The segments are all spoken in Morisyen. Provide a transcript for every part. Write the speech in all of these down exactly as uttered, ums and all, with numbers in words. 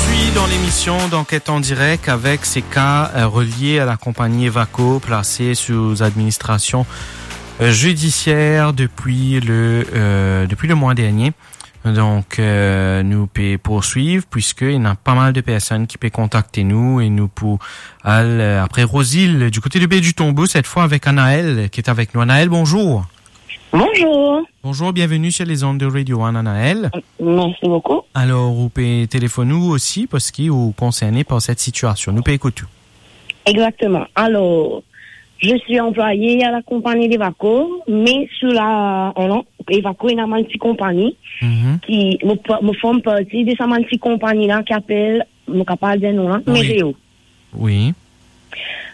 Suis dans l'émission d'enquête en direct avec ces cas, euh, reliés à la compagnie Evaco, placée sous administration, euh, judiciaire depuis le, euh, depuis le mois dernier. Donc, euh, nou pe poursuiv, puisque il y a pas mal de personnes qui pe contacter nous et nous pour al, euh, après Rosile, du côté de Baie du Tombeau, cette fois avec Anaël, qui est avec nous. Anaël, bonjour. Bonjour. Bonjour, bienvenue sur les ondes de Radio One, Anaël. Merci beaucoup. Alors, ou pe telefonn nou osi, parski ou concerné par cette situation. Nou pe ekout ou. Exactement. Alors, je suis employée à la compagnie d'Evaco, mais sous la, non, Evaco, ena bann ti konpagni Mhm. ki, mo pa-, mo form parti de sa bann ti konpagni la ki apel, mo kapav dir non la, Oui. Mereo. Oui.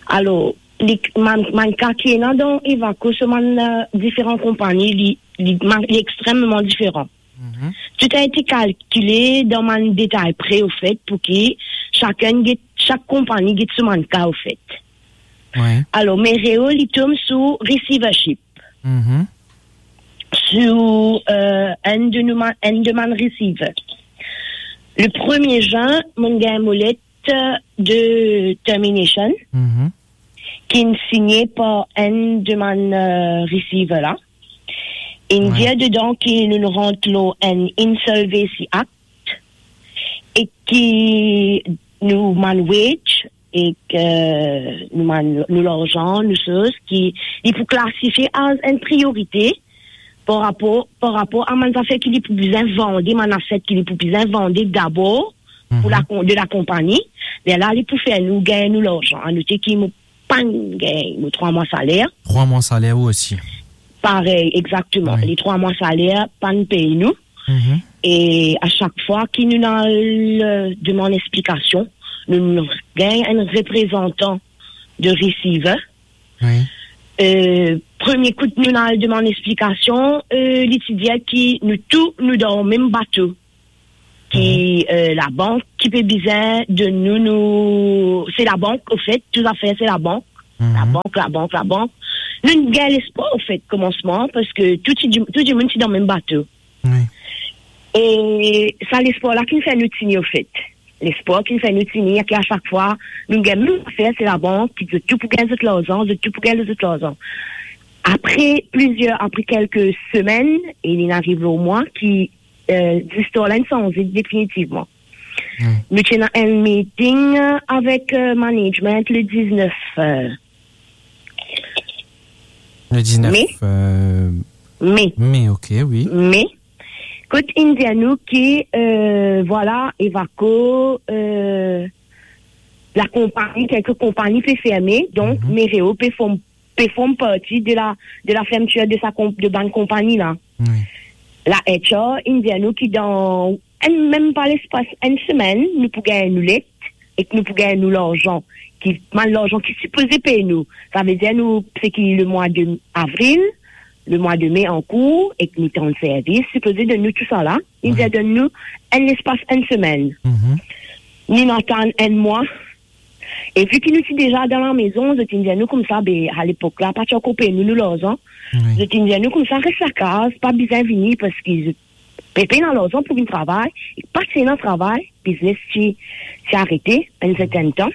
Alors, li, bann, bann ka ki ena dan Evaco, so bann, euh, diferan konpagni, li, li, bann, li extrememan diferan. Mhm. Tout a été calculé dan bann detay pre, ofet, pou ki sakenn get, sak konpagni get so bann ka, ofet. Oui. Alors, Mereo, li tom sou receivership. Mhm. Sou, euh, enn de nou ma-, enn de bann receiver. Le premier juin, mo gagn mo let de termination, Mhm. ki signe par enn de bann, euh, receiver la. Inn Ouais. dir dedan ki nou rant lor enn Insolvency Act e ki nou bann wage e ki nou bann, nou larzan, nou soz ki li pou klasifie as enn priorite par rapor, par rapor a bann zafer ki li pou bizin vande, bann aset ki li pou bizin vande dabor pou Mhm. la kon-, de la konpagni, lerla li pou fer nou gagn nou larzan. Anote ki mo pa'nn gagn mo trwa mwa saler. Trwa mwa saler ou osi? Parey, exactement. Oui. Les trois mois salaires, pa'nn pey nou. Mhm. E a sak fwa ki nou al, euh, demann explikasion, nou, nou gagn enn reprezantan de receiver. Oui. Euh, premie kout nou al demann explikasion, euh, li ti dir ki nou tou, nou dan mem bato. Ki, Mhm. euh, labank ki pe bizin donn nou, nou, se labank, ofet, tou zafer se labank. Mhm. Labank, labank, labank. Nou gagn lespwar, ofet, komansman, parski tou ti, tou dimoun ti dan mem bato. Oui. E sa lespwar la ki fer nou tini, ofet. Lespwar ki fer nou tini, ki a sak fwa, nou gagn mem zafer, se labank, ki zot tou pou gagn zot larzan, zot tou pou gagn zot larzan. Apre plizier, apre kelke semenn, e li ariv lor mwa ki, euh, zistwar la inn sanze definitivman. Hmm. Nou ti ena enn meeting, euh, avek, euh, management le diznef, euh, Le diznef, me. Euh, me. Me, ok, oui. Me. Kot inn dir nou ki, euh, vwala, Evaco, euh, la konpagni, kelke konpagni pe ferme, donk Mhm. Mereo pe form, pe form parti de la, de la fermeture de sa konp-, de bann konpagni la. Oui. La H R inn dir nou ki dan enn, mem pa lespas enn semenn, nou pou gagn nou let ek nou pou gagn nou larzan, ki, bann larzan ki sipoze pey nou. Savedir nou, seki le mwa de avril, le mwa de me ankour, ek nou tann servis, sipoze donn nou tou sa la. Inn dir donn nou enn lespas enn semenn. Mhm. Nou atann enn mwa. E vi ki nou ti deza dan lamezon, zot inn dir nou koumsa, be, a lepok la, pa ti ankor pey nou, nou larzan. Oui. Zot inn dir nou koumsa, res lakaz, pa bizin vini, parski zot pe pena larzan pou vinn travay, e pa ti ena travay, biznes ti, ti arete enn sertenn tan.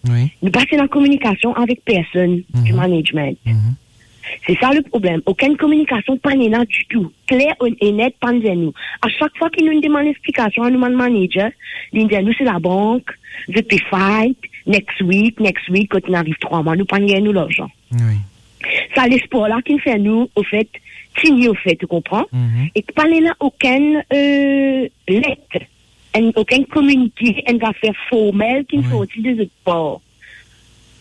Oui. Nou pa ti ena kominikasion avek personn Mhm. di management. Mhm. Se sa le problem. Okenn kominikasion pa ena ditou. Kler e net, pa dir nou. A sak fwa ki nou demann explikasion a nou bann manager, li dir nou se labank, zot pe fight, next week, next week, kot nou ariv trwa mwa, nou pa gagn nou larzan. Oui. Sa lespwar la ki fer nou, ofet, tini, ofet, ou konpran? Mhm. E pa ena okenn, euh, let, enn, okenn kominike, enn zafer formel ki Oui. sorti de zot par.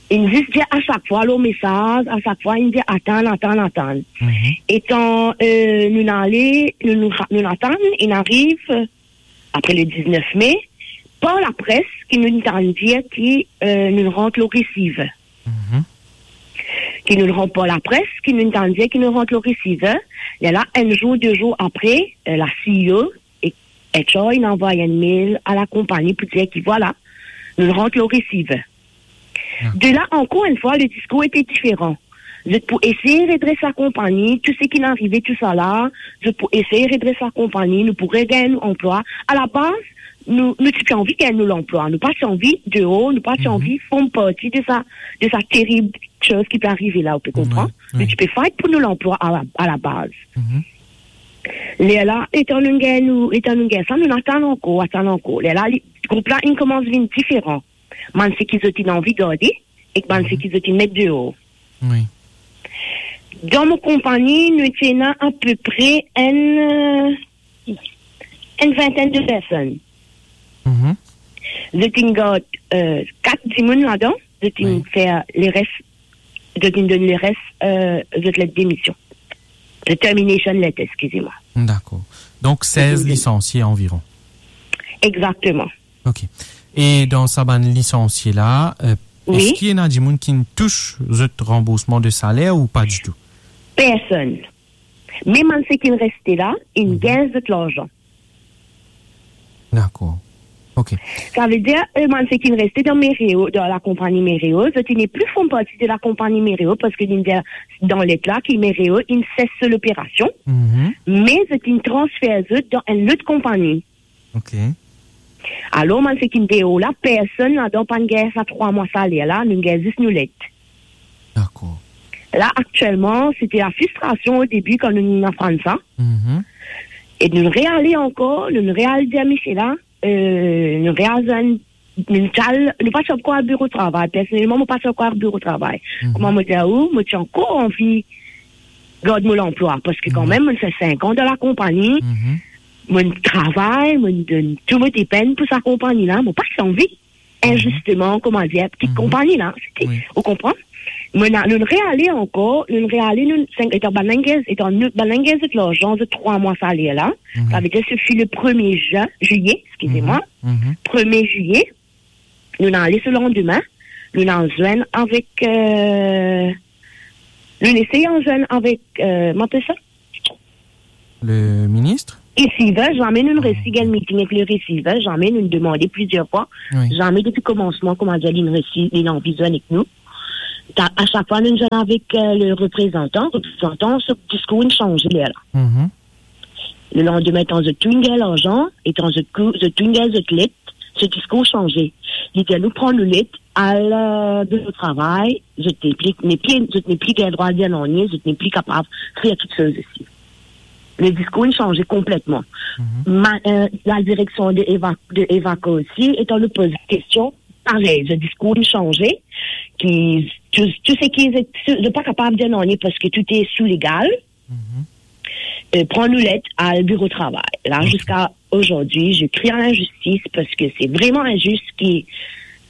Inn zis dir a sak fwa lor mesaz, a sak fwa inn dir atann, atann, atann. Mhm. Etan, euh, nou ale, nou, nou, nou atann, inn ariv, euh, apre le diznef me, par lapres, ki nou tann dir ki, euh, nou rant lor receiver. Mhm. Ki nou rant par lapres, ki nou tann dir ki nou rant lor receiver. Lerla, enn zour, de zour apre, euh, la C E O ek H R inn anvway enn mail a la konpagni pou dir ki vwala, nou rant lor receiver. Ah. De la, ankor enn fwa, le discours était différent. Zot pou esey redres la konpagni, tou seki inn arive, tou sa la, zot pou esey redres la konpagni, nou pou regagn nou anplwa. A la baz, nou, nou ti pe anvi gagn nou lanplwa. Nou pa ti anvi deor, nou pa ti Mhm. anvi form parti de sa, de sa terib soz ki pe arive la, ou pe konpran? Wi, wi. Nou ti pe fight pou nou lanplwa a la, a la baz. Mhm. Lerla, etan nou gagn nou, etan nou gagn sa, nou atann ankor, atann ankor. Lerla, li, group la, inn koumans vinn diferan. Bann seki zot inn anvi garde, ek bann Mhm. seki zot inn met deor. Wi. Dan mo konpani, nou ti ena apepre enn, euh, enn vintenn de personn. Mhm. Zot inn gard, euh, kat dimoun ladan, zot inn Wi. fer leres, zot inn donn leres, euh, zot let demision. Zot termination letter, eskize mwa. Dakor. Donk, sez Zot inn donn. lisansie anviron. Egzakteman. Ok. E dan sa bann lisansie la, euh, Wi. eski ena dimoun ki tous zot ranboursman de saler ou pa ditou? Personn. Mem bann seki inn reste la, inn Mhm. gagn zot larzan. Dakor. Ok. Savedir, euh, bann seki inn reste dan Mereo, dan lakonpani Mereo, zot inn nepli form parti de lakonpani Mereo, parski inn dir dan let la ki Mereo inn ses so loperasion, Mhm. me zot inn transfer zot dan enn lot konpani. Ok. Alor, bann seki inn deor la, personn ladan pa'nn gagn sa trwa mwa saler la, nou gagn zis nou let. Dakor. La, aktielman, se ti la fristrasion o debi kan nou aprann sa. Mhm. E nou reale ankor, nou real dir misie la, euh, nou real zwenn, nou ti al, nou pa ti ankor al biro travay. Personelman, mo pa ti ankor al biro travay. Mhm. Kouma mo dir ou, mo ti ankor anvi gard mo lanplwa, parski Mhm. kanmem, mo fer sink an dan lakonpani, Mhm. mo travay, mo donn tou mo depenn pou sa konpani la, mo pa ti anvi Mhm. inzisteman, kouma dir, kit Mhm. konpani la, se ti, Wi. ou konpran? Mo ena, nou reale ankor, nou reale, nou, sink, etan bann la inn gagn, etan nou, bann la inn gagn zot larzan, zot trwa mwa saler la, Mhm. savedir se fi le premie zin, zilie, eskize mwa, Mhm. Mhm. premie zilie, nou ale so landime, nou al zwenn avek, euh, nou esey al zwenn avek, euh, kouma apel sa? Le ministre? Receiver, zame nou Ah, resi ok. gagn meeting ek le receiver, zame nou demande plizier fwa, Wi. zame depi komansman, kouma dir, li resi, li anvi zwenn ek nou. Ta-, a sak fwa nou zwenn avek, euh, le reprezantan, reprezantan, so diskour inn sanze lerla. Mhm. Le landime, etan zot tou inn gagn larzan, etan zot kou-, zot tou inn gagn zot let, so diskour sanze. Li dir nou pran nou let, al, euh, biro travay, zot nepli, nepli, zot nepli gagn drwa dir nanye, zot nepli kapav fer kiksoz isi. Le diskour inn sanze konpletman. Mhm. Ma-, euh, la direksion de Eva-, de Evaco osi, etan nou poz kestion, parey, zot diskour inn sanze, ki tou, tou seki zot, zot pa kapav dir nanye parski tou est sous légal. Mhm. Euh, pran nou let al biro travay. La, Ok. ziska ozordi, je crie à l'injustice parski se vreman inzis ki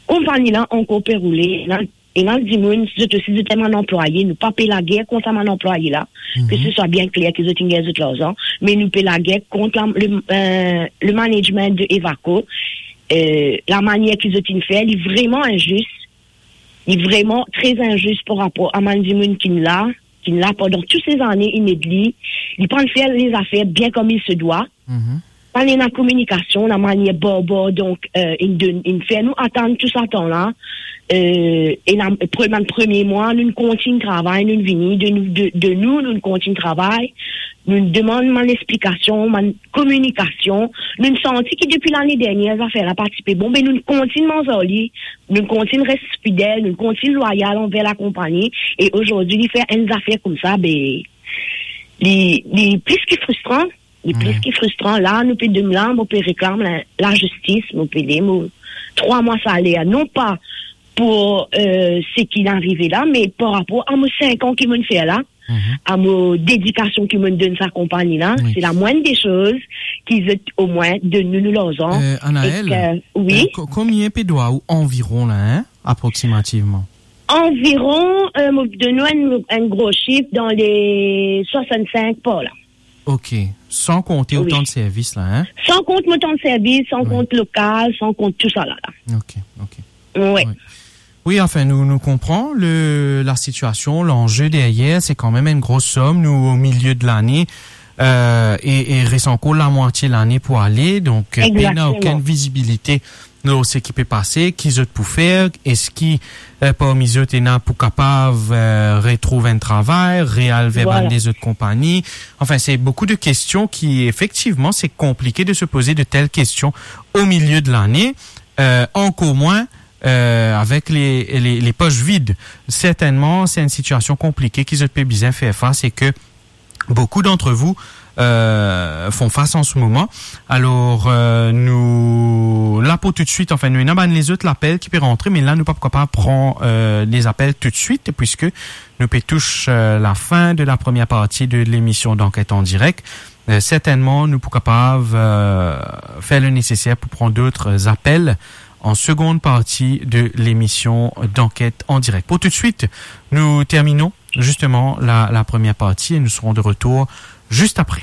konpani la ankor pe roule. Ena, ena dimoun, zot osi, zot enn bann anplwaye, nou pa pe lager kont sa bann anplwaye la. Mhm. Ke se swa bien kler ki zot inn gagn zot larzan, me nou pe lager kont la, le, euh, le management de Evaco, euh, lamanier ki zot inn fer, li vreman inzis. Li vreman tre inzis par rapor a bann dimoun ki la, ki la pandan tou se zane, inn ed li, li pa'nn fer lezafer bien comme il se doit. Mhm. Pa'nn ena kominikasion, lamanier barbar, donk, euh, inn donn, inn fer nou atann tou sa tan la. Euh, e la, pre-, bann premie mwa, nou kontign travay, nou vini, de nou, de, de nou, nou kontign travay, nou demann bann explikasion, bann kominikasion. Nou santi ki depi lane dernier, zafer la pa ti pe bon, me nou kontign manz ar li, nou kontign res fidel, nou kontign lwayal anver lakonpani, e ozordi, li fer enn zafer koumsa, be, li, li plis ki fristran, li plis Wi. ki fristran. La, nou pe dem-, la, mo pe reklam la, lazistis, mo pe dem, mo, trwa mwa saler, non pa pou, euh, seki arive la, me par rapor a mo sink an ki mo'nn fer la, Mhm. a mo dedikasion ki mo'nn donn sa konpani la, Wi. se lamwenn de soz ki zot omwin donn nou nou larzan. Euh, Anaël, Ek, euh, wi. euh, ko-, konbien pe dwa ou anviron la, hein, aproksimativman? Anviron, euh, mo donn ou enn, enn gro sif dan le swasannsink par la. Ok, san konte Wi. otan de servis la, hein? San kont mo tan de servis, san Wi. kont lokal, san kont tou sa la, la. Ok, ok. Wi. Wi. Wi, anfin, nou, nou konpran le, la sitiasion, lanze deryer, se kanmem enn gro som, nou o milie de lane, euh, e, e res ankor lamwatie lane pou ale, donk, euh, pena Egzakteman. okenn vizibilite, lor seki pe pase, ki zot pou fer, eski, eh, parmi zot ena pou kapav, eh, retrouv enn travay, real ver bann lezot konpagni. Anfin, se boukou de kestion ki, efektivman, se konplike de se poze de tel kestion o milie de lane, eh, ankor mwin, eh, avek le, le, le pos vid. Sertennman, se enn sitiasion konplike ki zot pe bizin fer fas e ke boukou d'antre vou, eh, font fas an se moman. Alor, eh, nou la pou toutswit, anfin, nou ena bann lezot lapel ki pe rantre, me la, nou pa pou kapav pran, eh, lezapel toutswit, puiske nou pe tous, eh, lafin de la première partie de lemision d'Enquête en direct. Eh, sertennman, nou pou kapav, eh, fer le neseser pou pran dot apel an segonn parti de lemision d'Enquête en direct. Pou toutswit, nou terminon zisteman la, la première partie et nous serons de retour juste après.